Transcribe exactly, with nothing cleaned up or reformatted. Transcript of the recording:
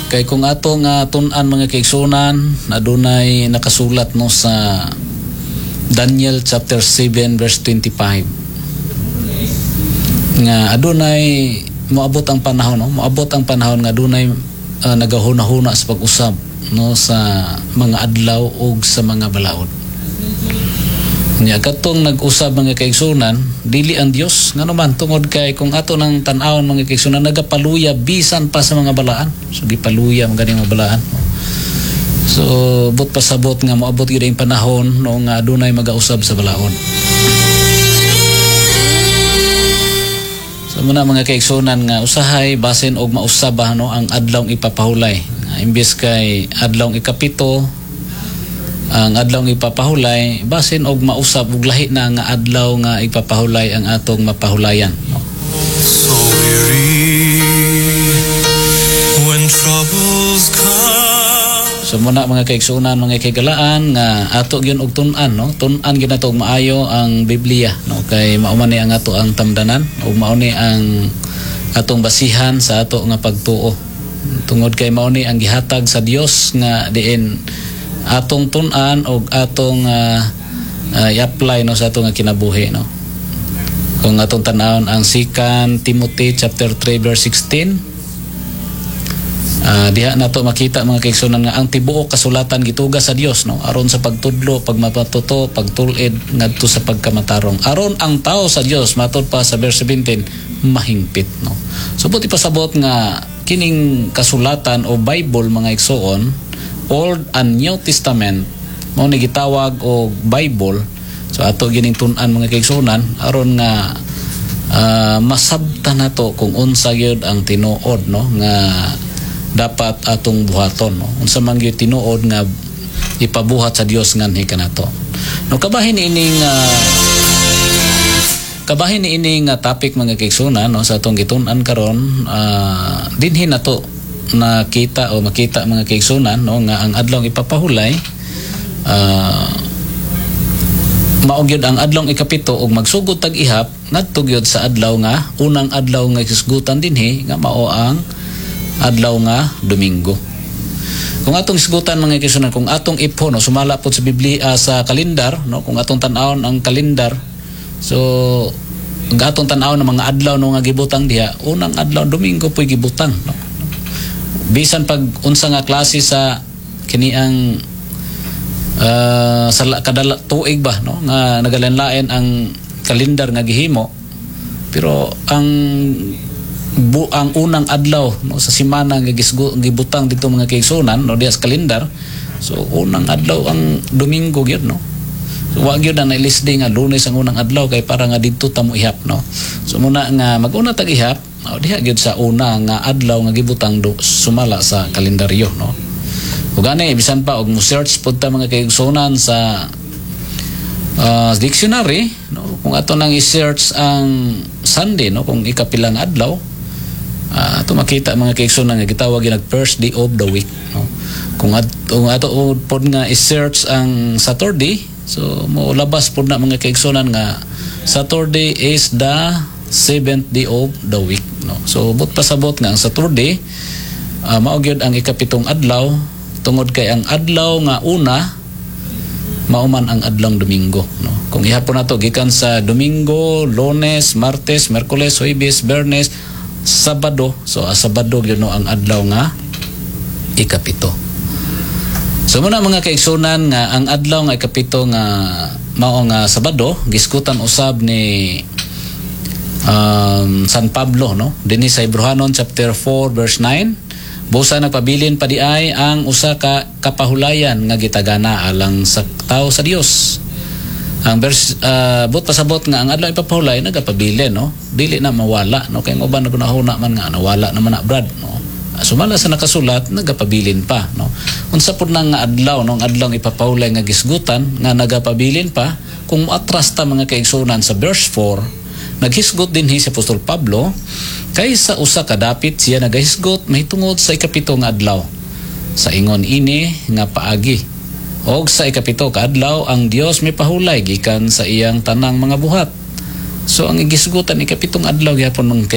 Kay kung ato nga tun-an, mga kaigsunan, adunay nakasulat, no, sa Daniel chapter seven verse twenty-five nga adunay moabot ang panahon, no, moabot ang panahon nga adunay uh, nagahuna-huna sa pag-usab, no, sa mga adlaw ug sa mga balaod. Nya katong nag-usab, mga kaigsunan, dili ang Dios. Ngano man? Tungod kay kung ato nang tan-awon, mga kaigsunan, nagapaluya bisan pa sa mga balaan. So gipaluya man gani mga balaan. So but pasabot nga moabot gyud ang panahon, no, nga adunay magausab sa balaod. So muna, mga kaigsunan, nga usahay basin og mausab ba, no, ang adlawng ipapahulay. Imbes kay adlawng ikapito ang adlawng ipapahulay, basin og mausab og lahi na nga adlaw nga ipapahulay ang atong mapahulayan, no? So weary when troubles come. So muna, mga kaigsunan, mga kaigalaan, nga ato gyud og tun-an, no, tun-an gyud nato og maayo ang Biblia, no, kay mao man ni ang ato ang tamdanan ug mao ni ang atong basihan sa ato nga pagtuo, tungod kay mao ni ang gihatag sa Dios nga diin atong tun-an og atong uh, uh, i-apply, no, sa atong nga kinabuhi, no. Kung atong tan-awon ang Second Timothy chapter three verse sixteen, Ah, diha nato makita, mga kaigsunan, nga ang tibuok kasulatan gituga sa Dios, no, aron sa pagtudlo, pagmapatuto, pagtul-id ngadto sa pagkamatarong, aron ang tao sa Dios, matud pa sa verse seventeen, mahingpit, no. So buot ipasabot nga kining kasulatan o Bible, mga igsuon, Old and New Testament, mao ni gitawag og Bible. So ato gining tun-an, mga kaigsunan, aron nga ah, masabtan nato kung unsa gyud ang tinuod, no, nga dapat atong buhaton, no, unsa man gyud tinuod nga ipabuhat sa Dios nganhi kanato, no. Kabahin ining ah, kabahin niini nga topic, mga kaigsunan, no, sa atong gitun-an karon, ah, dinhi nato nakita o makita, mga kaigsunan, no, nga ang adlawng ipapahulay ah, mao gyud ang adlawng ikapito ug magsugod tag ihap ngadto gyud sa adlaw nga unang adlaw nga hisgutan dinhi, nga mao ang adlaw nga Domingo. Kung atong hisgutan, mga kaigsunan, kung atong ipho, no, sumala pod sa Biblia, sa kalendar, no, kung atong tan-awon ang kalendar, so ang atong tan-awon ng mga adlaw, no, nga gibutang diha, unang adlaw Domingo po'y gibutang, no. Bisan pag unsa nga klase sa kini ang ah, sa la- kada la- tuig ba, no, nga nagalain-lain ang kalendar nga gihimo, pero ang bu, ang unang adlaw, no, sa semana nga gisgu, gibutang dito, mga kaigsunan, no, diha sa kalendar, so unang adlaw ang Domingo gyud, no. So wa gyud na nailisdi nga Lunes ang unang adlaw kay para nga didto ta mo ihap, no. So muna nga mag-una tag ihap, oh, diha gyud sa una nga adlaw nga gibutang do, sumala sa kalendaryo, no. Ug gani bisan pa og mo search pud ta, mga kaigsunan, sa uh, dictionary, no, kung ato nang i-search ang Sunday, no, kung ikapilang adlaw, ah, ato makita, mga kaigsunan, nga gitawag gyud first day of the week, no. Kung at, kung ato pod nga i-search ang Saturday, so mo labas pod na, mga kaigsunan, nga Saturday is the seventh day of the week, no. So but pasabot nga ang Saturday uh, mao gyud ang ikapitong adlaw, tungod kay ang adlaw nga una mao man ang adlawng Domingo, no. Kung ihapon nato gikan sa Domingo, Lunes, Martes, Miyerkules, Huwebes, Biyernes, Sabado, so ah, Sabado gyud, no, ang adlaw nga ikapito. So muna, mga kaigsunan, nga ang adlaw nga ikapito nga mao nga Sabado, giskutan usab ni um, San Pablo, no, dinhi sa Hebreohanon chapter four verse nine: "Busa nagpabilin pa di ay ang usa ka kapahulayan nga gitagana alang sa tao sa Dios." Ang verse uh, but pasabot nga ang adlaw ipapahulay nagapabilin, no, dili na mawala, no, kay ang uban nagunahuna man nga nawala naman na, brad, no. Sumala sa nakasulat, nagapabilin pa, no. Unsa pud na nga adlaw, no, ang adlaw ipapahulay nga gisgutan nga nagapabilin pa? Kung moatras ta, mga kaigsunan, sa verse four, naghisgot dinhi si Apostol Pablo, kay sa usa ka dapit siya nagahisgot mahitungod sa ikapito nga adlaw sa ingon ini nga paagi. Og sa ikapito ka adlaw ang Dios mipahulay gikan sa iyang tanang mga buhat. So ang igisgutan, ikapitong adlaw gyapon, mga